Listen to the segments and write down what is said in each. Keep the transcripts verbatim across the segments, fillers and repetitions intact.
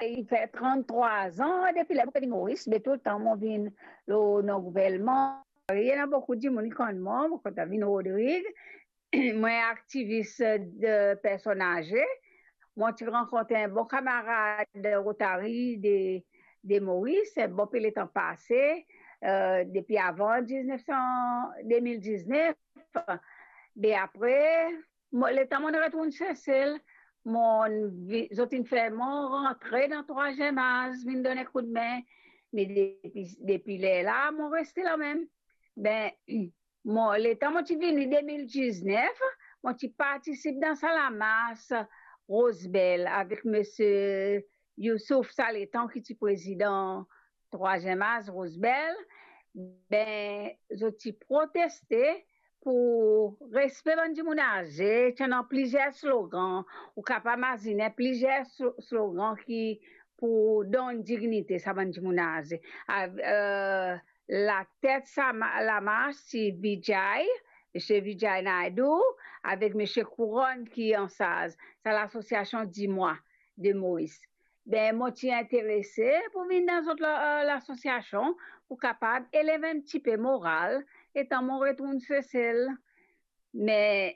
li fer tranntrwa an depi ler mo pe vinn Moris, me toultan mo vinn lor non gouvernman. Ena boukou dimoun ki konn mwa, mo kontan vinn Rodrig. Mwa aktivis de personn aze. Mo ti rankontre enn bon kamarad Rotary de, de Moris, enn bon pe letan pase, eh, depi avan diznef san, de mil diznef. Me apre, mo, letan mo retourn Sesel, mo vi-, zot inn fer mwa rantre dan Trwaziem Az, vinn donn koudme. Me depi, depi ler la, mo reste la mem. Be, mo, letan mo ti vini de mil diznef, mo ti partisip dan sa lamars Rose Belle avek misie Youssouf, sa letan ki ti prezidan Trwaziem Az, Rose Belle. Be, zot ti proteste pou respe bann dimoun aze, ti ena plizier slogan, ou kapav imazine plizier slo-, slogan ki pou donn dignite sa bann dimoun aze. Av-, eh, latet sa ma-, lamars ti Vijay, misie Vijay Naidu, avek misie Couronne ki ansarz sa lasosiasion Dis-moi de Moris. Be, mo ti interese pou vinn dan zot la-, eh, lasosiasion, pou kapav elev enn tipe moral, letan mo retourn Sesel. Me,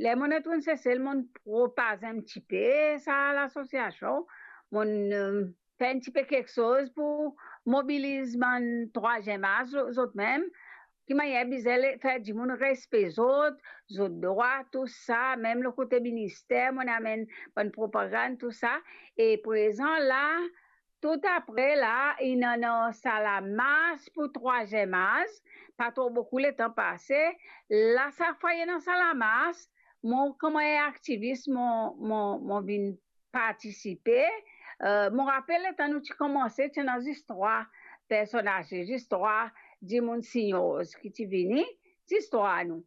ler mo retourn Sesel, mo propaze enn tipe sa lasosiasion, mo, eh, fer enn tipe kiksoz pou mobiliz bann Trwaziem Az, zot mem, ki manier bizin le-, fer dimoun respe zot, zot drwa, tou sa, mem lor kote minister, mo amenn bann propagann, tou sa. E prezan la, tou apre la, inn ena sa lamars pou Trwaziem Az, pa tro boukou letan pase. La, sa fwa ena sa lamars, mo, kouma enn aktivis, mo, mo, mo vinn partisipe. Eh, mo rapel letan nou ti koumanse, ti ena zis trwa personn aze, zis trwa dimoun seniors ki ti vini, zis trwa nou.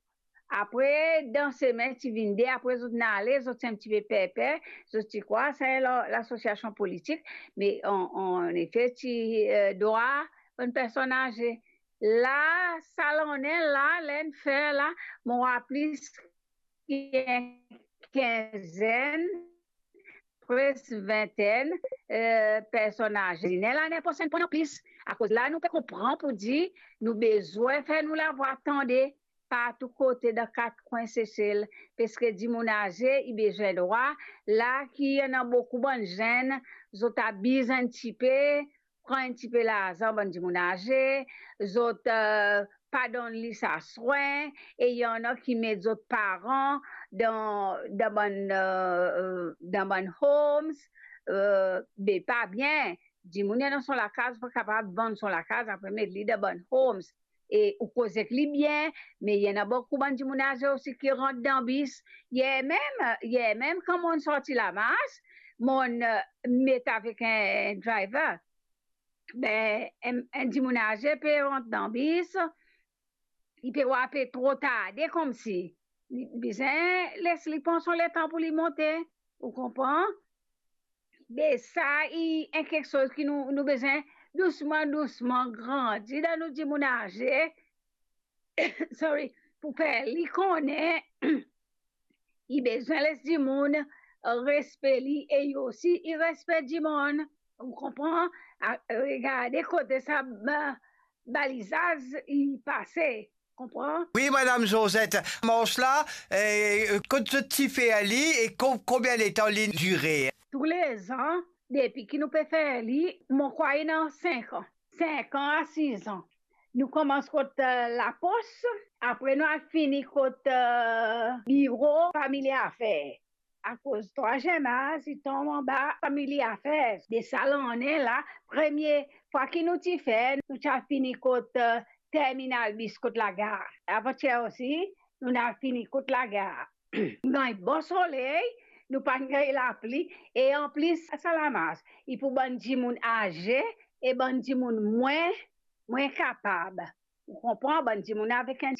Apre, dan semin ti vinn de, apre zot inn ale, zot ti enn tipe per-per, zot ti krwar sa la-, lasosiasion politik, me an, an efe ti, eh, drwa bann personn aze. La, sa lannen la, ler inn fer la, mo war plis ki enn kinzenn, preske vintenn, eh, personn aze. Ler lane prosenn pou ena plis, akoz la nou pe konpran pou dir nou bizin fer nou lavwa tande partou kote dan kat kwin Sesel, paski dimoun aze, i bizin drwa, la ki ena boukou bann zenn, zot abiz enn tipe, pran enn tipe larzan bann dimoun aze, zot, eh, pa donn li sa swin, e ena ki met zot paran dan, dan bann, eh, dan bann homes, eh, be pa bien. Dimoun ena so lakaz, pa kapav vann so lakaz, apre met li dan bann homes. E ou koz ek li bien, me ena boukou bann dimoun aze osi ki rant dan bis. Yer mem, yer mem, kan mo'nn sorti lamars, mo'nn, eh, met avek enn, enn driver. Be, enn, enn dimoun aze pe rant dan bis, li pe war pe tro tarde koumsi. Li bizin les li pran so letan pou li monte, ou konpran? Be sa, i enn kiksoz ki nou, nou bizin dousman, dousman grandi dan nou dimoun aze, sorry, pou fer li kone i bizin les dimoun, eh, respe li, e li osi, i respe dimoun. Ou konpran? A, regarde kote sa ba-, balizaz i pase. Konpran? Wi, Madam Josette, mars la, eh, kot zot ti fer li e ko-, konbien letan li dire? Toulezan, depi ki nou pe fer li, mo krwar ena sink an, sink an a sis an. Nou koumans kot, eh, lapos, apre nou al fini kot, eh, biro Family Affairs. Akoz Trwaziem Az, i tonm anba Family Affairs. De sa lannen la, premie fwa ki nou ti fer, nou ti al fini kot, eh, terminal bis kot lagar. Avantier osi, nou al fini kot lagar. Gagn bon soley, nou pa'nn gagn lapli, e anplis sa lamars, i pou bann dimoun aze e bann dimoun mwin, mwin kapab. Ou konpran, bann dimoun avek enn